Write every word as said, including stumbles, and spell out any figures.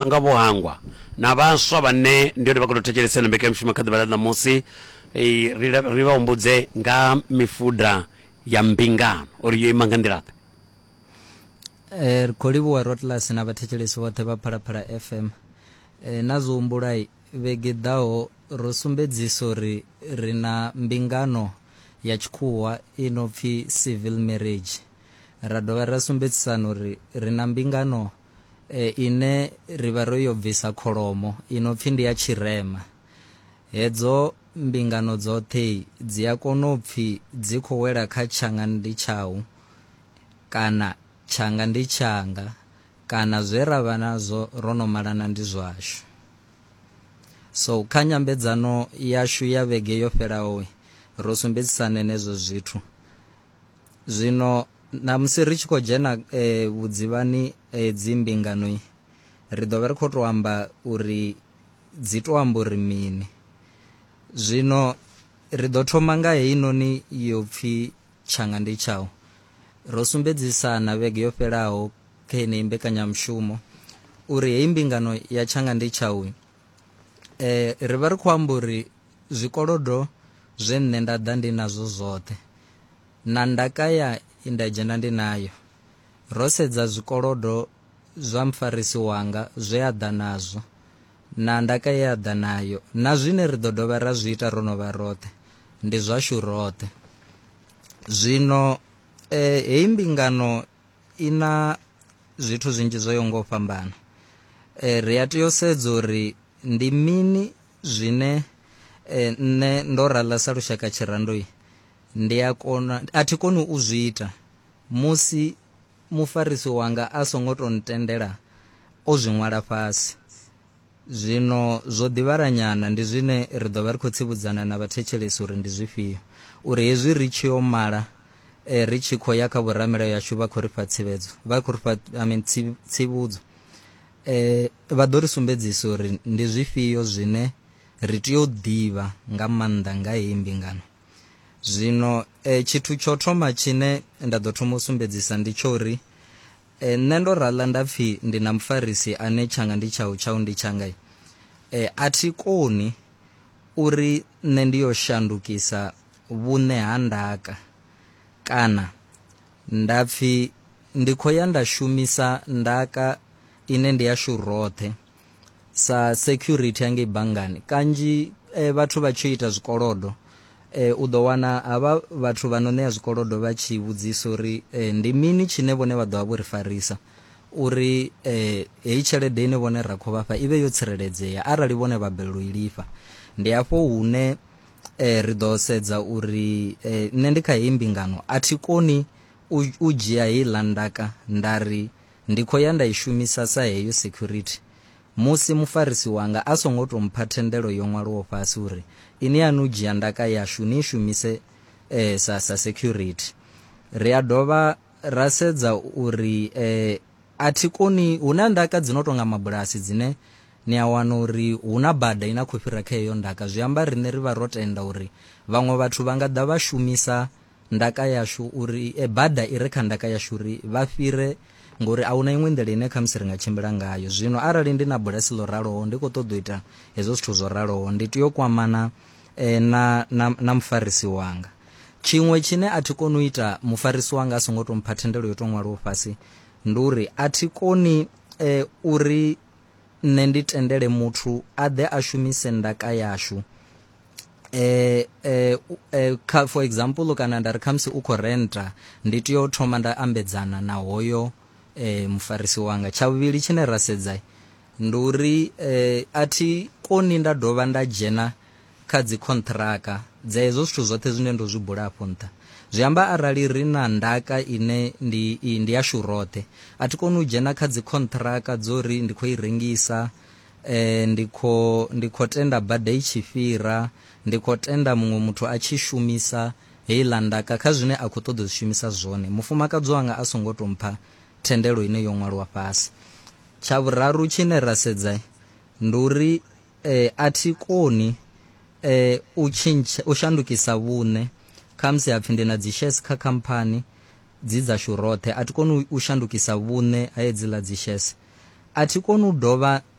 Nga vho hangwa na vhaswa vhane ndi hone vha khou tou thetshelesa ino mbekanyamushumo kha ḓuvha ḽa ṋamusi, eh, ri la- ri vha humbudze nga mifuda ya mbingano uri yo ima nga nḓila-ḓe. Eh, ri khou livhuwa Rotlas na vhathetshelesi vhoṱhe vha Phalaphala F M. Eh, na zwo humbula vhege ḓaho ro sumbedzisa uri ri na mbingano ya tshikhuwa i no pfi civil marriage. Ra dovha ra sumbedzisana uri ri na mbingano, eh, ine ri vha ro yo bvisa kholomo i no pfi ndi ya tshirema. Hedzo mbingano dzoṱhe dzi a kona u pfi dzi khou wela kha tshanga ndi tshau kana tshanga ndi tshanga kana zwe ra vha nazwo ro no malana ndi zwashu. So kha nyambedzano yashu ya vhege yo fhelaho ro sumbedzisana henezwo zwithu. Zwino namusi ri tshi khou dzhena, eh, vhudzivhani, eh, dzi mbingano, ri ḓo vha ri khou tou amba uri dzi to amba uri mini. Zwino ri ḓo thoma nga heinoni yo pfi tshanga ndi tshau. Ro sumbedzisana vhege yo fhelaho kha yeneyi mbekanyamushumo uri heyi mbingano ya tshanga ndi tshau, eh, ri vha ri khou amba uri zwikolodo zwe nṋe nda ḓa ndi nazwo zwoṱhe na ndaka ya nda dzhena ndi nayo. Ro sedza zwikolodo zwa mufarisi wanga zwe a ḓa nazwo na ndaka ye a ḓa nayo na zwine ri ḓo dovha ra zwi ita ro no vha roṱhe ndi zwashu roṱhe. Zwino, eh, heyi mbingano i na zwithu zwinzhi zwo yaho nga u fhambana. Eh, ri a tea u sedza uri ndi mini zwine, eh, nṋe ndo raḽa sa lushaka tshirandoi ndi a kona, a thi koni u zwi ita musi mufarisi wanga a songo to ntendela o zwi ṅwala fhasi. Zwino zwo ḓivhalanyana ndi zwine ri ḓo vha ri khou tsivhudzana na vhathetshelesi uri ndi zwifhio, uri hezwi ri tshi yo mala, eh, ri tshi khou ya kha vhoramilayo yashu vha khou ri fha tsivhedzo, vha khou ri fha, I mean, tsi-, tsivhudzo. Eh, vha ḓo ri sumbedzisa uri ndi zwifhio zwine ri tea u ḓivha nga maanḓa nga heyi mbingano. Zwino, eh, tshithu tsho thoma tshine nda ḓo thoma u sumbedzisa ndi tsho uri, eh, nṋe ndo raḽa nda pfi ndi na mufarisi ane tshanga ndi tshau, tshau ndi tshanga. Eh, a thi koni uri nṋe ndi yo shandukisa vhuṋe ha ndaka kana nda pfi ndi khou ya nda shumisa ndaka ine ndi yashu roṱhe sa security hangei banngani. Kanzhi, eh, vhathu vha tshi ita zwikolodo, eh, u ḓo wana havha vhathu vha no ṋea zwikolodo vha tshi vhudzisa uri, eh, ndi mini tshine vhone vha ḓo vha vho ri farisa uri, eh, heyi tshelede ine vhone ra khou vhafha i vhe yo tsireledzea arali vhone vha balelwa u i lifha. Ndi hafho hune, eh, ri ḓo sedza uri, eh, nṋe ndi kha heyi mbingano a thi koni u, u dzhia heiḽa ndaka nda ri ndi khou ya nda i shumisa sa heyo security musi mufarisi wanga a songo to mpha thendelo yo ṅwaliwaho fhasi uri ini ya nu dzhia ndaka yashu ni shumise, eh, sa, sa security. Ri a dovha ra sedza uri, eh, a thi koni, hu na ndaka dzi no tonga mabulasi dzine ni a wana uri hu na bada ina khou fhira kha heyo ndaka. Zwi amba riṋe ri vha ro tenda uri vhaṅwe vhathu vha nga ḓa vha shumisa ndaka yashu uri, eh, bada i re kha ndaka yashu uri vha fhire, ngori a huna iṅwe nḓila ine khamusi ri nga tshimbila ngayo. Zwino arali ndi na bulasi ḽo raloho ndi khou ṱoḓa u ita hezwo zwithu zwo raloho, ndi tea u kwamana, eh, na, na, na mufarisi wanga. Tshiṅwe tshine a thi koni u ita mufarisi wanga a songo to mpha thendelo yo to ṅwaliwaho fhasi ndi uri a thi koni, eh, uri nṋe ndi tendele muthu a ḓe a shumise ndaka yashu. Eh, eh, eh, kha, for example, kana nda ri khamusi u khou renta, ndi tea u thoma nda ambedzana na hoyo, eh, mufarisi wanga. Tsha vhuvhili tshine ra sedza ndi uri, eh, a thi koni nda dovha nda dzhena kha dzi contract dza hezwo zwithu zwoṱhe zwine ndo zwi bula afho nṱha. Zwi amba arali ri na ndaka ine ndi, ndi yashu roṱhe, a thi koni u dzhena kha dzi contract dzo ri ndi khou i rengisa, eh, ndi khou, ndi khou tenda bada i tshi fhira, ndi khou tenda muṅwe muthu a tshi shumisa heiḽa ndaka kha zwine a khou ṱoḓa u zwi shumisa zwone, mufumakadzi wanga a songo to mpha thendelo ine yo ṅwaliwa fhasi. Tsha vhuraru tshine ra sedza ndi uri, eh, a thi koni, eh, u tshintsha, u shandukisa vhuṋe. Khamusi hapfi ndi na dzi shares kha khamphani dzi dzashu roṱhe, a thi koni u shandukisa vhuṋe ha hedziḽa dzi shares. A thi koni u dovha.